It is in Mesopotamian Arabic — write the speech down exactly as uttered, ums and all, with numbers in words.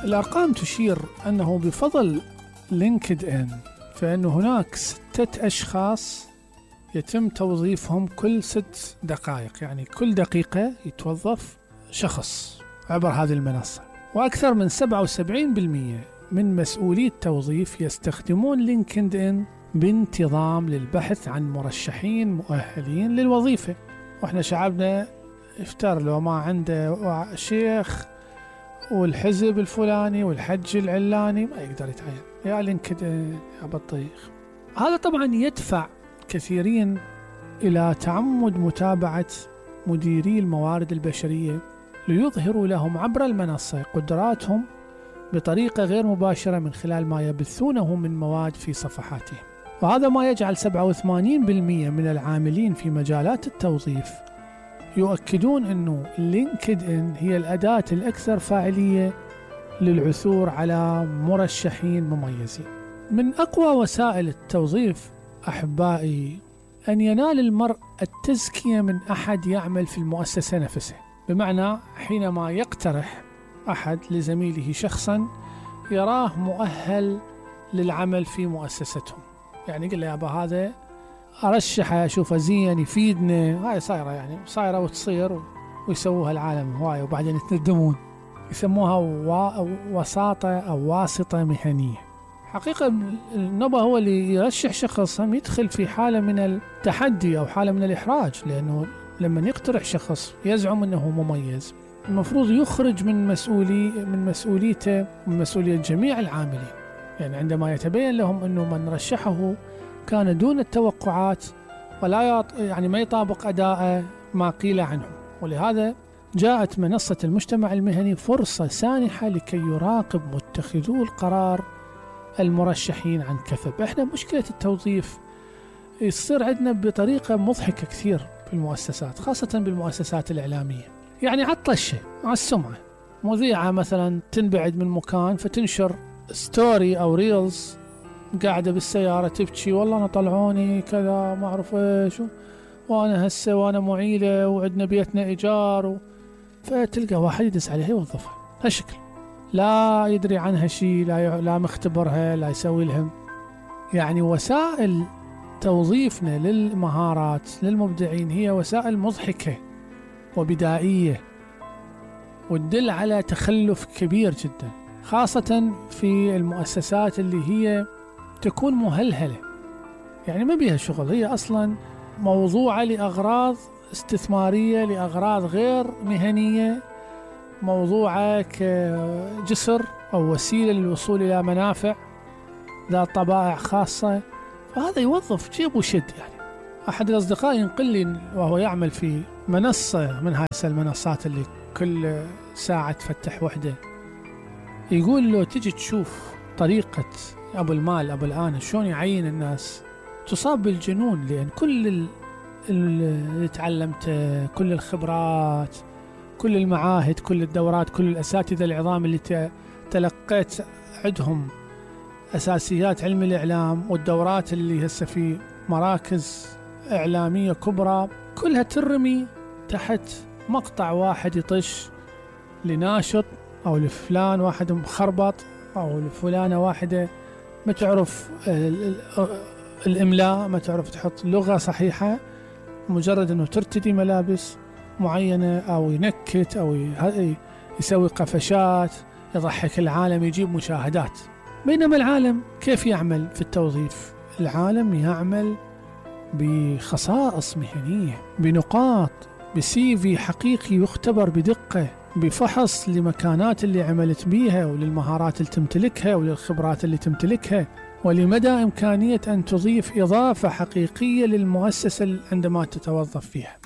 الأرقام تشير أنه بفضل لينكد إن فإن هناك ستة أشخاص يتم توظيفهم كل ست دقائق، يعني كل دقيقة يتوظف شخص عبر هذه المنصة. وأكثر من سبعة وسبعين بالمئة من مسؤولي التوظيف يستخدمون لينكد إن بانتظام للبحث عن مرشحين مؤهلين للوظيفة. وإحنا شعبنا افتر لو ما عنده شيخ والحزب الفلاني والحج العلاني ما يقدر يتعين، يا لينكد إن يا بطيخ. هذا طبعا يدفع كثيرين إلى تعمد متابعة مديري الموارد البشرية ليظهروا لهم عبر المنصة قدراتهم بطريقة غير مباشرة من خلال ما يبثونه من مواد في صفحاتهم. وهذا ما يجعل سبعة وثمانين بالمئة من العاملين في مجالات التوظيف يؤكدون أنه لينكد إن هي الأداة الأكثر فاعلية للعثور على مرشحين مميزين. من أقوى وسائل التوظيف أحبائي أن ينال المرء التزكية من أحد يعمل في المؤسسة نفسها، بمعنى حينما يقترح أحد لزميله شخصا يراه مؤهل للعمل في مؤسستهم، يعني يقول له يا أبا هذا أرشحه أشوفه زين يفيدنا. هاي صايرة يعني صايرة وتصير ويسووها العالم هواي وبعدين يتندمون، يسموها وساطة أو واسطة مهنية. حقيقة النبأ هو اللي يرشح شخص هم يدخل في حالة من التحدي أو حالة من الإحراج، لأنه لما يقترح شخص يزعم أنه مميز المفروض يخرج من مسؤولي من مسؤوليته ومن مسؤولية جميع العاملين. يعني عندما يتبين لهم أنه من رشحه كان دون التوقعات ولا يط... يعني ما يطابق أداءه ما قيل عنه. ولهذا جاءت منصة المجتمع المهني فرصة سانحة لكي يراقب متخذو القرار المرشحين عن كثب. احنا مشكلة التوظيف يصير عندنا بطريقة مضحكة كثير في المؤسسات، خاصة بالمؤسسات الإعلامية. يعني عطشة على السمعة، مذيعة مثلا تنبعد من مكان فتنشر ستوري أو ريلز قاعدة بالسيارة تبكي والله أنا طلعوني كذا ما أعرف إيش وأنا هسه وأنا معيلة وعندنا بيتنا إيجار و... فتلقى واحد يدس عليها يوظفها هالشكل، لا يدري عنها شيء، لا ي... لا مختبرها، لا يسوي لهم. يعني وسائل توظيفنا للمهارات للمبدعين هي وسائل مضحكة وبدائية وتدل على تخلف كبير جدا، خاصة في المؤسسات اللي هي تكون مهلهلة، يعني ما بيها شغل، هي أصلا موضوعة لأغراض استثمارية لأغراض غير مهنية، موضوعة كجسر أو وسيلة للوصول إلى منافع ذات طبائع خاصة. فهذا يوظف جيب وشد. يعني أحد الأصدقاء ينقل لي وهو يعمل في منصة من هاي المنصات اللي كل ساعة تفتح وحدة، يقول له تجي تشوف طريقة أبو المال أبو الآن شلون يعين الناس تصاب بالجنون، لأن كل اللي تعلمته، كل الخبرات، كل المعاهد، كل الدورات، كل الأساتذة العظام اللي تلقيت عندهم أساسيات علم الإعلام والدورات اللي هسه في مراكز إعلامية كبرى، كلها ترمي تحت مقطع واحد يطش لناشط أو لفلان واحد مخربط أو لفلانة واحدة ما تعرف الإملاء، ما تعرف تحط لغة صحيحة، مجرد أنه ترتدي ملابس معينة أو ينكت أو يسوي قفشات يضحك العالم يجيب مشاهدات. بينما العالم كيف يعمل في التوظيف؟ العالم يعمل بخصائص مهنية، بنقاط، بسي في حقيقي يختبر بدقة، بفحص لمكانات اللي عملت بيها وللمهارات اللي تمتلكها وللخبرات اللي تمتلكها ولمدى إمكانية أن تضيف إضافة حقيقية للمؤسسة عندما تتوظف فيها.